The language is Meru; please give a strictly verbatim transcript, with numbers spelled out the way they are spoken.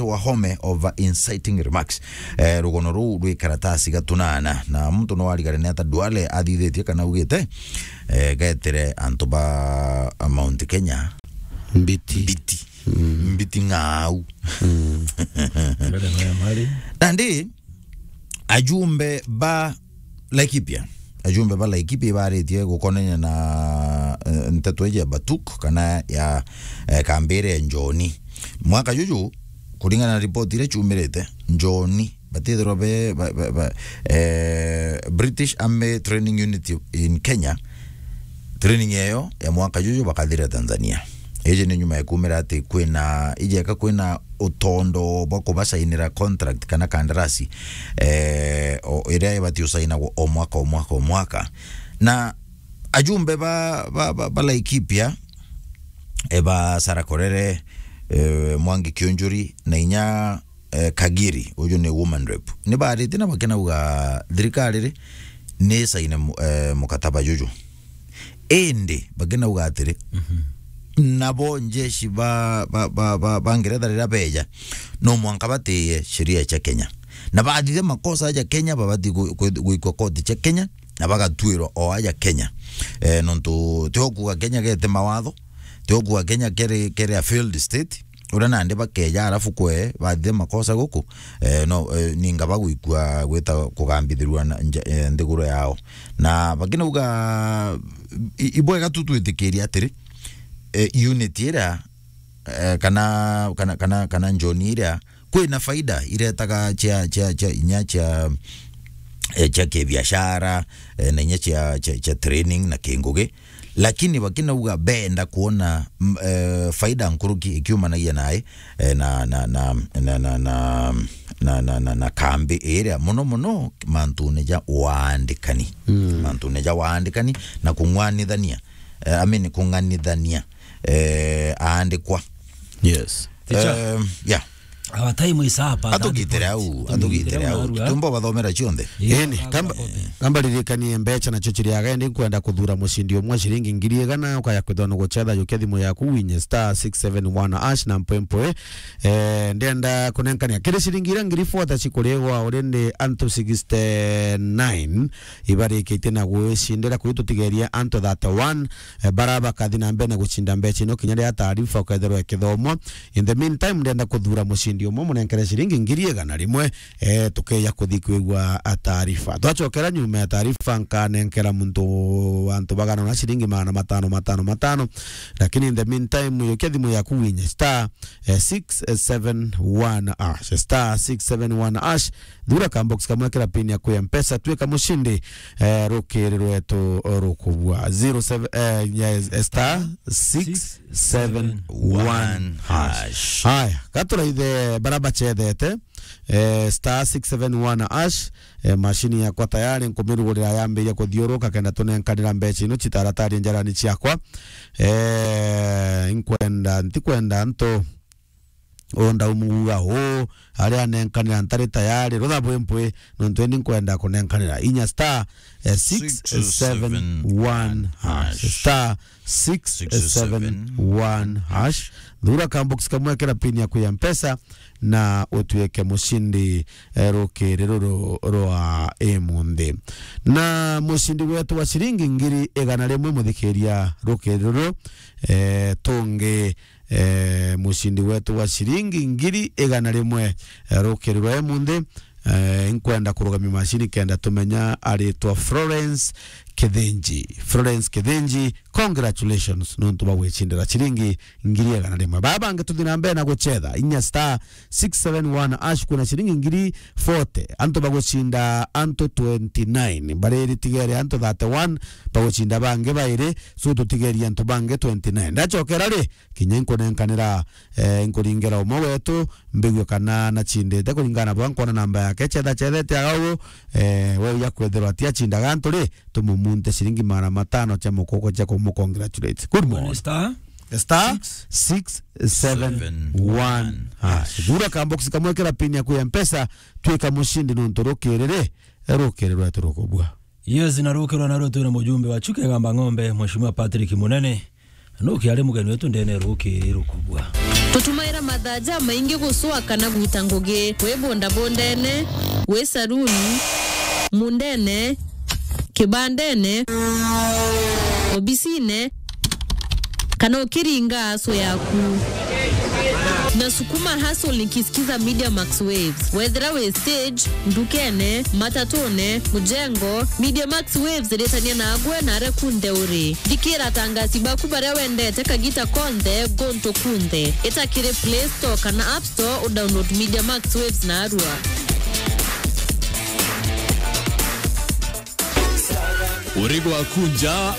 Wahome over inciting remarks. Eh, rugono ruu rwi karatasi gatunana, na muntu no arigare ni ata Duale athithitie kana augite, eh, getire antu ba Mount Kenya mbiti. Mbiti. Mm. Mbiti ng'au. Mm. Nandi, ajumbe ba Laikipia. Ajumbe ba Laikipia ibaritie gukonania na, eh, nteto iji ya Batuk kana ya, eh, kambi iria ya Njoni. Mwaka juju, kuringana na ripoti iria ciumirite, Njoni batithirwa be, ba, ba, ba, eh, British Army Training Unit in Kenya. Training eyo ya mwaka juju bakathira Tanzania. Iji ni nyuma ya kumira ati kwina, ijeka kwina utondo bwa kubasainira contract kana kandarasi, eh, o, iria ibati usainagwa o mwaka, o mwaka, o mwaka. Na ajumbe ba, ba, ba, ba Laikipia, eh, ba Sarah Korere, eh, Mwangi Kiunjuri, na inya, eh, Kagiri, uju ni woman rep, ni baarite na bakinauga thirikari ri ni isaine mu-, eh, mukataba juju. Indi bakinauga atiri, mhm, nabo njeshi ba, ba, ba, ba, ba Ngeretha riria beja, no mwanka batiye sheria cia Kenya. Na bathithia makosa ja Kenya, babati gu-, gu-, guikwa koti cia Kenya, na bagatuirwa o aja Kenya. Eh, nontu ti okuga Kenya gete mawatho, ti okuga Kenya kere, kere a failed state, uria nandi bakeja alafu kwe bathithia makosa guku, eh, no, eh, ninga bagwikua gwita kugambithirua na nja-, eh, nthiguru yao. Na bakinauga, i-, ibwega tu twitikirie atiri, eh, unit iria, eh, kana, kana, kana, kana Njoni iria kwina faida iretaga cia, cia, cia, inya cia, eh, cia kibiashara, eh, na inya cia, cia, cia training na kingugi. Lakini bakinauga benda kuona, m-, eh, faida nkuruki ikiumanagia nae, eh, na, na, na kambi iria, muno muno mantune ja waandikani. Mm. Mantune ja waandikani na kung'wanithania, eh, I mean, kung'anithania, eh, aandikwa. Yes. Teacher. Em, yeah. Our time is up at that point. Atugitire au, atugitire au. Tumbo bathomera cionthe. Yeah, ini, kamba, kamba ririkanie mbeca nacio ciri aga, indi nkwenda kuthura mucindi umwe ciringi ngiri igana, ukaya kwithwa ni gucetha, yukia thimu yaku, winye star six seven one hash na mpwempwe. Eh, ndenda kunenkania kiri ciringi iria ngiri forty cikurigwa already antu sixty-nine ibarikitie na gwicindira, kwi tutigeria antu thirty-one, eh, bara bakathi na mbere na gucinda mbeca ino kinya riria taarifa ukethirwa ikithomwa. In the meantime, ndenda kuthura mucindi umwe, munenkere ciringi ngiri igana rimwe, eh, tukeja kuthi kwigua, ah, taarifa. Twacokera nyuma ya taarifa, nkanenkera muntu antu bagana na ciringi magana matano, matano, matano. Lakini in the meantime, yukia thimu yaku winye star, eh, six seven one hash, star six seven one hash. Thura ka box kamwe kira pin yaku ya Mpesa, twika mucindi, eh, rukiri rwetu rukubua. Zero seven, eh, yes, eh, star six seven one hash. Haya, gaturaithe bara bacethete, eh, star six seven one hash, eh, mashini yakwa tayari, nkumirugurira yambiria kuthiuruka kenda tunenkanira mbeca ino citaratari njarani ciakwa. Eh, nkwenda, ntikwenda nto unda umuga u, aria anenkanira ntari tayari, rutha bwi mpwi, nontu eni nkwenda kunenkanira. Inya star, eh, six seven one hash. Star six seven one hash. Thura ka box kamwe kira pin yaku ya Mpesa na utuike mucindi, eh, rukiri ruru rwa imunthi. Na mucindi wetu wa ciringi ngiri igana rimwe, muthikiria, rukiri ruru, eh, tungi eh, mucindi wetu wa ciringi ngiri igana rimwe, eh, rukiri rwa imunthi. Eh, nkwenda kurugamia macini kenda tumenya aritwa Florence Kithinji. Florence Kithinji, congratulations nontu bwa gwicindira ciringi ngiri igana rimwe. Baba bangi tuthi na mbere na gucetha, inya star six seven one hash, kwina ciringi ngiri forty. Antu bagucinda antu twenty-nine. Bariritigere antu thirty-one, bagucinda bangi bairi, so tutigerie antu bangi twenty-nine. Ndacokera ri, kinya inkunenkanira, eh, inkuringera umwe wetu, mbigue kana nacindite kuringana na bwa nkwona namba yake, cetha cethete aga ugu, eh, we uja kwethirwa ati acindaga antu ri, tumumunte ciringi magana matano cia mukoko cia kumu-congratulate. Good morning. Star six seven one hash. Thura ka box kamwe kira pin yaku ya Mpesa, twika mucindi nontu rukiri ri, rukiri rwetu rukubua. Yes, na rukirwa na rutwira mujumbe wa Chuka Igamba Ng'ombe, Mheshimiwa Patrick Munene. Nukiari mugeni wetu ndene rukiri rukubwa. Tutumaira mathaa jamaingi gucua kana gwita ngugi, wi bondabondene, wi saruni, mundene, kibandene, obisine, kana ukiringa aso yaku. Nasukuma hustle nikisikiza Media Max Waves. Wethira wi stage, ndukene, matatune, mujengo, Media Max Waves ritania nagwe na aria kunthe uri. Thikira atangasi baku baria wendete kagita konthe, guntu kunthe. Ita kiri Play Store kana App Store, udownload Media Max Waves narua. Uri gwaku nja.